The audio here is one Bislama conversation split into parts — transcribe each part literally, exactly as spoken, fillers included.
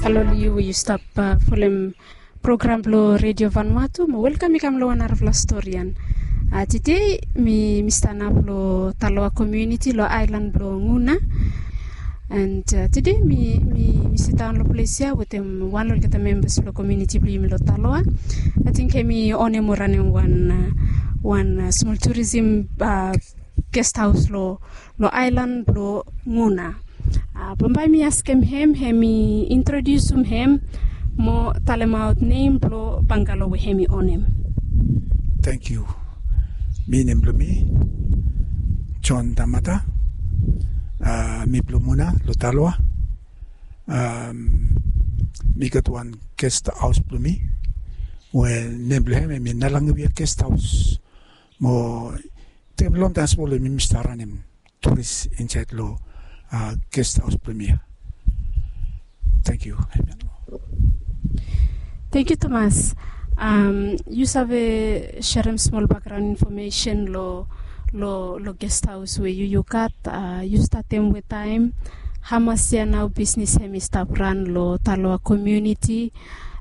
Halo long yu we yu stap folem program blong Redio Vanuatu, mo welkam i kam long wan narafala storian. Tide mi mi stanap long Taloa komuniti long aelan blong Guna. And tide mi mi mi sidaon long ples ya wetem wan long olgeta membas blong komuniti blong yumi long Taloa. Ating hemi onem o ranem wan wan smol turisim gest haos long long aelan blong Guna. Bambae mi askem hem hemi introdiusum hem mo talemaot nem blong bangalo we hemi onem. Tangkiu. Mi nem blong mi John Damata. Mi blong Guna long Taloa. Mi gat wan gest haos blong mi we nem blong hem hemi Nalangewea gest haos. Mo taem longtaem smol we mi mi stap ranem turis insaed long gest haos blong mi ya. Tangkiu. Tangkiu tumas. Yu save serem smol bakgraon infomesen long long long gest haos we yu yu gat? Yu statem wetaem? Hamas yia nao bisnis hemi stap ran long Taloa komuniti?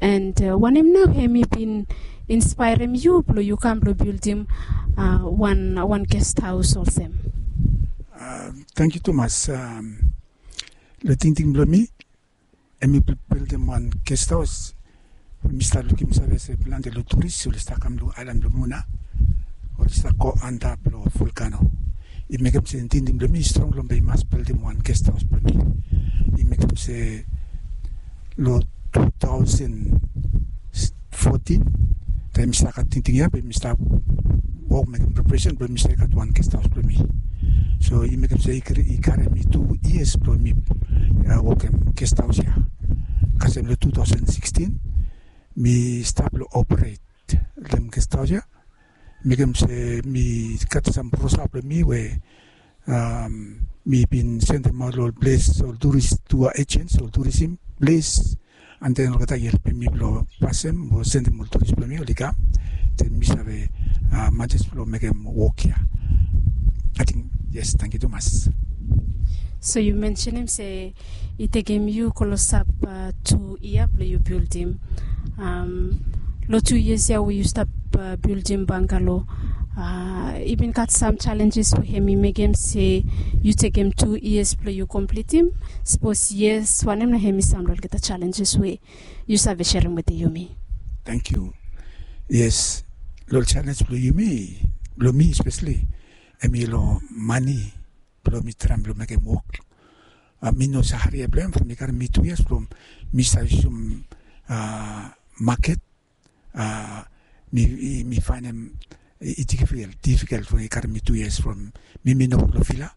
And wanem nao hemi bin inspaerem yu blong yu kam blong bildim wan wan gest haos olsem? Tangkiu tumas. Long tingting blong mi, hemi bildim wan gest haos. Mi stap lukim save se plante long turis oli stap kam long aelan blong Guna, oli stap go antap long volkano. I mekem se tingting blong mi i strong long bae i mas bildim wan gest haos blong mi. I mekem se long tu taosen fotin, taem mi stap gat tingting ya bae mi stap wok mekem preparesen blong mi save gat wan gest haos blong mi. So i mekem se i karem mi tu yias blong mi wokem gest haos ya. Kasem long tu taosen sikstin mi stap long operet long gest haos ya. Mekem se mi gat sam brosa blong mi we mi bin sendemaot long ol ples, ol turis, tu ejens, ol turisim ples. And then olgeta i helpem mi blong pasem o sendem ol turis blong mi oli kam. Then mi save manes blong mekem wok ya. Ating yes, tangkiu tumas. So yu mensenem se i tekem yu klosap tu yia blong yu bildim. Long tu yias ya we yu stap bildim bangalo, i bin gat sam jalenjes we hemi mekem se yu tekem tu yias blong yu komplitim? Sapos yes, wanem nao hemi sam long olgeta jalenjes we yu save serem wetem yumi? Tangkiu. Yes, long ol jalenj blong yumi, blong mi espeseli, hemi long mane blong mi traem blong mekem wok. Mi no save haria blong hem from i karem mi tu yias from mi save yusum maket. Mi mi faenem i difikel, difikel from i karem mi tu yias from mi mi no wok long vila.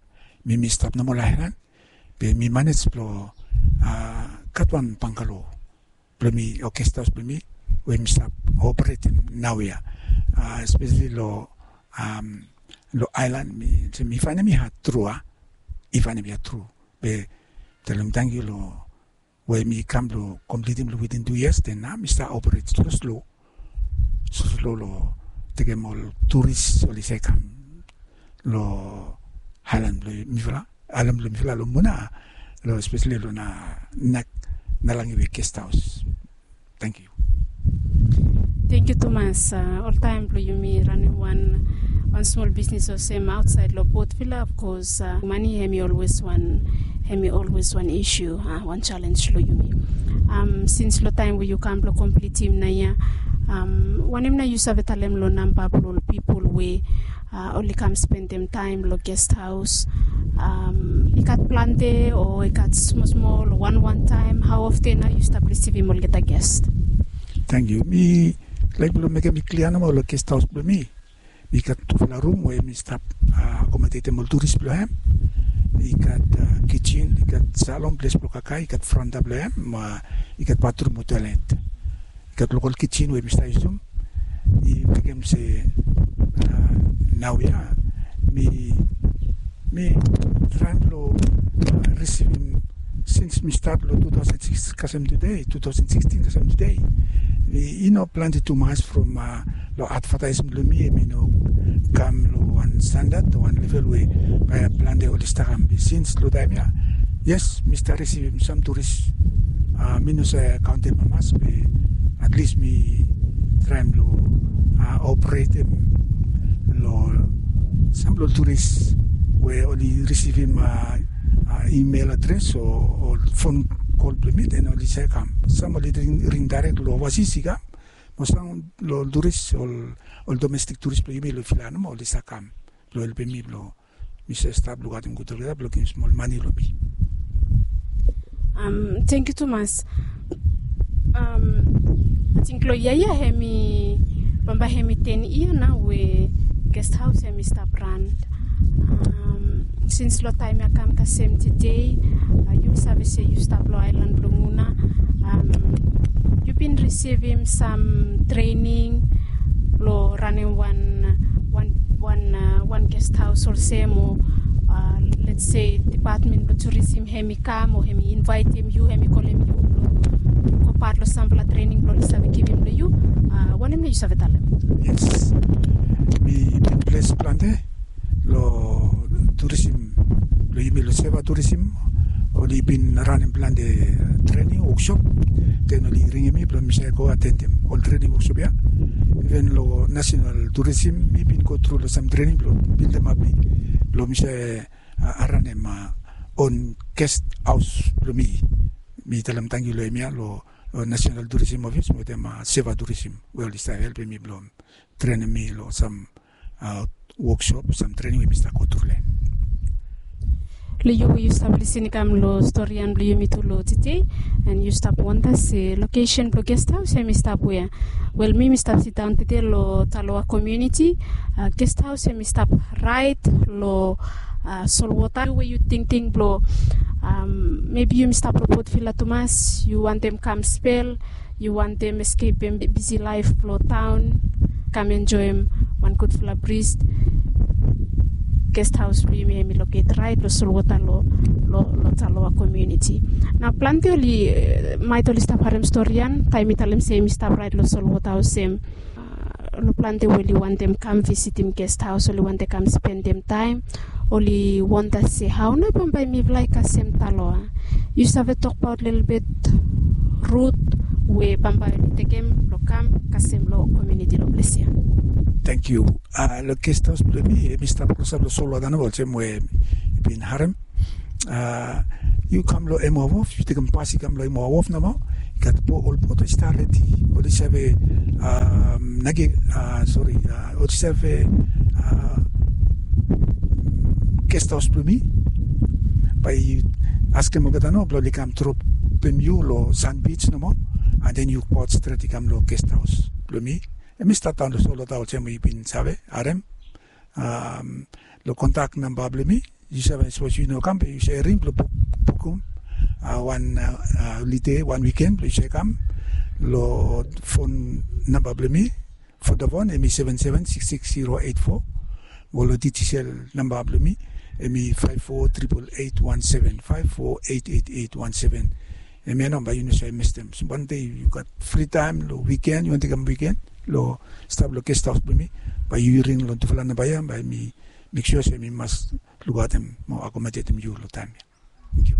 Mi mi stap nomo long aelan. Be mi manes blong gat wan bangalo blong mi o gest haos blong mi we mi stap operetem naoia. Espeseli long long aelan, mi se mi faenem i had tru a. I faenem i had tru. Be talem tangkiu long we mi kam blong komplitim long witin tu yias, then nao mi stap operet slo slo, slo slo long tekem ol turis oli save kam long aelan blong mifala, aelan blong mifala long Muna, long espeseli long na Nalangewea gest haos. Tangkiu. Tangkiu tumas. Oltaem blong yumi ranem wan wan smol bisnis olsem aotsaed long Port Vila, of course mane hemi olwes wan, hemi olwes wan isu, wan jalenj long yumi. Sins long taem we yu kam blong komplitim naoia, wanem nao yu save talem long namba blong ol pipol we oli kam spendem taem long gest haos? I gat plante o i gat smol smol o wan wan taem? Hao often nao yu stap risivim olgeta gest? Tangkiu. Mi laek blong mekem i klia nomo long gest haos blong mi. Mi gat tufala rum we mi stap akomodetem ol turis blong hem. I gat kijen, i gat salon, ples blong kakae, i gat franta blong hem, i gat batrum o toelet. I gat lokal kijen we mi stap yusum. I mekem se naoia mi mi traem blong risivim sins mi stat long tu taosen sikis kasem tude, tu taosen sikstin kasem tude. I no plante tumas from long advataesmen blong mi, hemi no kam long wan standad o wan level we bae plante oli stap kam. Be sins long taem ya, yes, mi stap risivim sam turis Mi no save kaontem hamas be at least mi traem long operetem long sampela ol turis we oli risivim email adres o fon kol bilong mi, den oli save kam. Sam oli ring dairek long ovasis i kam, mo sam long ol turis, ol domestik turis bilong yumi long vila nomo oli save kam bilong helpim mi bilong mi save stap lukautim gut olgeta bilong givim smol mani long mi. Tenkyu tumas. Ating long yia ya hem i bambae hem i ten yia nau we gest haus hem i stap ran. Sins long taim ya kam kasem tede, yu save se yu stap long ailan bilong una. Yu bin risivim sam trening long ranim wan wan wan gest haus olsem o, let's se depatmen bilong turisim hem i kam o hem i invaitim yu, hem i kolim yu bilong go pat long sampela trening bilong oli save givim long yu. Wanem na yu save talem? Yes, mi bin bles plante long turisim bilong yumi long seva turisim. Oli bin ranim plante trening woksop, den oli ringim mi bilong mi save go atendim ol trening woksop ya. Iven long nasional turisim mi bin go tru long sam trening bilong bildimap mi bilong mi save ranim on gest haus bilong mi. Mi talem tangkiu long em ya long nasional turisim ofis wetem seva turisim we oli save helpim mi bilong trenim mi long sam woksop, sam trening we mi stap go tru long en. Long yu we yu stap lisin i kam long stori ya bilong yumi tu long tete, en yu stap wonda se lokesen bilong gest haus em i stap wea? Wel, mi mi stap sindaun tete long Taloa komuniti. Gest haus em i stap rait long solwota. Yu we yu tingting bilong mebi yumi stap long Port Vila tumas, yu wantem kam spel, yu wantem eskepim bisi laif bilong taon, kam enjoim wan gutpela bris. Gest haus bilong yumi em i loket rait long solwota long Taloa komuniti. Na planti oli mait oli stap harim stori ya taim mi talem se em i stap rait long solwota olsem. Long planti we oli wantem kam visitim gest haus, oli wantem kam spendim taim, oli wonda se hau na bambae mipela i kasem Taloa. Yu save tokbaot lelebet rut we bambae oli tekem long kam kasem long komuniti long ples ya? Tenkyu. Long gest haus bilong mi em i stap klosap long solwota naba olsem we yu bin harim. Yu kam long Emoa Wof, yu tekem pas i kam long Emoa Wof nomo, i gat ol bot i stap redi, oli save nagi, sori, oli save gest haus bilong mi. Bai yu askim olgeta nao bilong oli kam dropim yu long Sand Beach nomo, and then yu go stret i kam long gest haus bilong mi. Em i stap daun long solwota olsem we yu bin save harim. Long kontak namba bilong mi, yu save, sapos yu no kam be yu save ring bilong bukim wan holide, wan wiken bilong yu save kam. Long fon namba bilong mi, Vodafone em i seven seven six six zero eight four. Mo long Digicel namba bilong mi em i five four triple eight one seven, five four eight eight eight one seven. Em ya nao bai yu no save mistem. So wan de yu gat fri taim long wiken, yu wantem kam wiken long stap long gest haus bilong mi, bai yu ring long tufala namba ya, bai mi mek sua se mi mas lukautim mo akomodetim yu long taim ya. Tenkyu.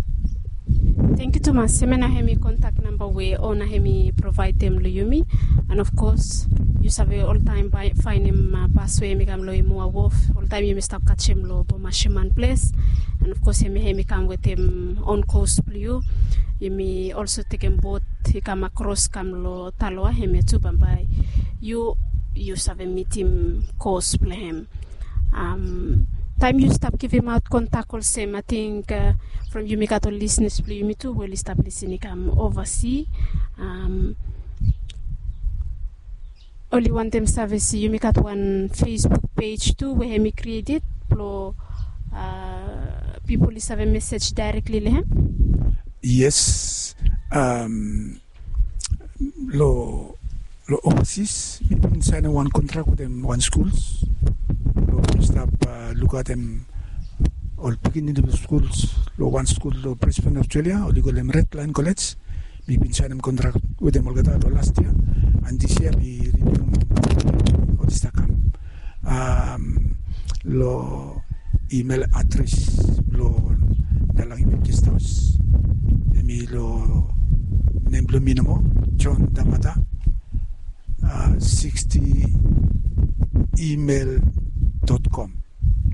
Tenkyu tumas. Em ya nao em i kontak namba we ona em i provaidim long yumi. And of course yu save oltaim bai fainim pas we em i kam long Emoa Wof. Oltaim yumi stap katim long Bomashiman ples. And of course em ya em i kam wetem on kos bilong yu. Yumi olso tekem bot i kam akros kam long Taloa, em ya tu bambae yu yu save mitim kos bilong em. Taim yu stap givimaot kontak olsem, ating from yumi gat ol lisnis bilong yumi tu we oli stap lisin i kam ovasi. Oli wantem save se yumi gat wan Facebook pej tu we em i krieted bilong pipol i save mesej daerekli long em. Yes. Long long ovasis mi bin sainim wan kontrak wetem wan skuls. Long mi stap lukautim ol pikinini bilong skuls long wan skul long Brisbane, Australia, oli kolem Red Lion College. Mi bin sainim kontrak wetem olgeta long last yia, and this yia mi rinium olgeta kam. Long email adres bilong Nalang Iwet Guest House, em i long Mi nomo, John Tamata, sixty email dot com.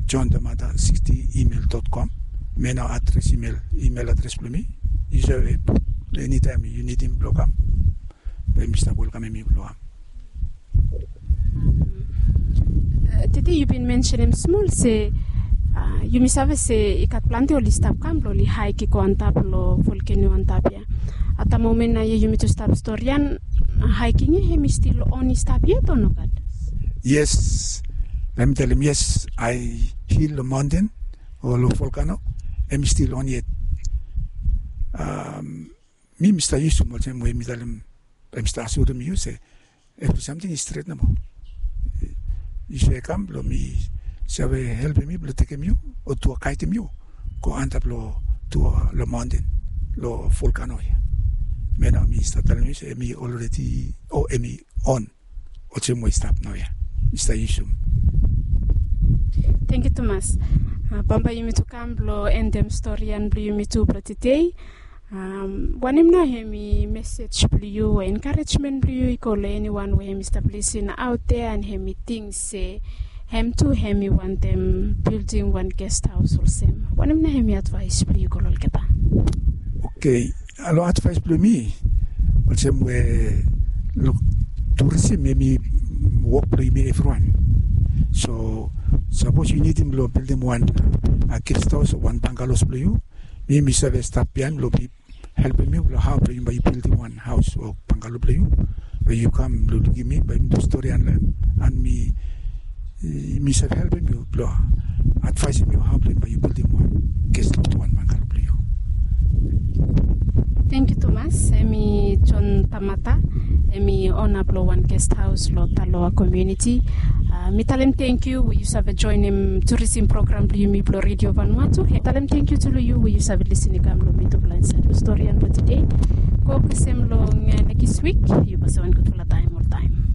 John Tamata sixty email dot com. Hemia nao adres, email, email adres blong mi. Yu save put, enitaem yu nidim blong kam, bae mi stap welkamem yu blong kam. Tede yu bin mensenem smol se yumi save se i gat plante oli stap kam blong oli haik i go antap long volkeno antap ya. At the moment nao ya yumi tu stap storian, haiking ya hemi stil on i stap yet o nogat? Yes. Bae mi talem yes, haik long maonten o long volkano hemi stil on yet. Mi mi stap yusum olsem we mi talem, bae mi stap asirem yu se evri samting i stret nomo. Yu save kam blong mi save helpem yu blong tekem yu o tu gaedem yu go antap long tu long maonten long volkano ya. Hemia nao mi stap talem yu se hemi olredi o hemi on olsem we i stap naoia. Mi stap yusum. Tangkiu tumas. Bambae yumi tu kam blong endem storian blong yumi tu blong tede. Wanem nao hemi mesej blong yu o enkarejmen blong yu i go long eniwan we hemi stap lisin aot ya and hemi ting se hem tu hemi wantem bildim wan gest haos olsem? Wanem nao hemi advaes blong yu go long olgeta? Oke, long advaes blong mi, olsem we long turisim hemi wok blong yumi evriwan. So sapos yu nidim blong bildim wan gest haos o wan bangalos blong yu, mi mi save stap biaen blong mi helpem yu blong hao blong yu bae yu bildim wan haos o bangalo blong yu. Bae yu kam blong lukim mi, bae yumi tu storian long hem, and mi mi save helpem yu blong advaesem yu hao blong yu bae yu bildim wan gest haos o wan bangalo blong yu. Tangkiu tumas. Hemi John Tamata, hemi ona blong wan gest haos long Taloa komuniti. Mi talem tangkiu we yu save joenem turisim program blong yumi blong Redio Vanuatu. Talem tangkiu tu long yu we yu save lisin i kam long mitufala insaed long storian blong tede. Go kasem long nekis wik. Yu bae save wan gudfala taem oltaem.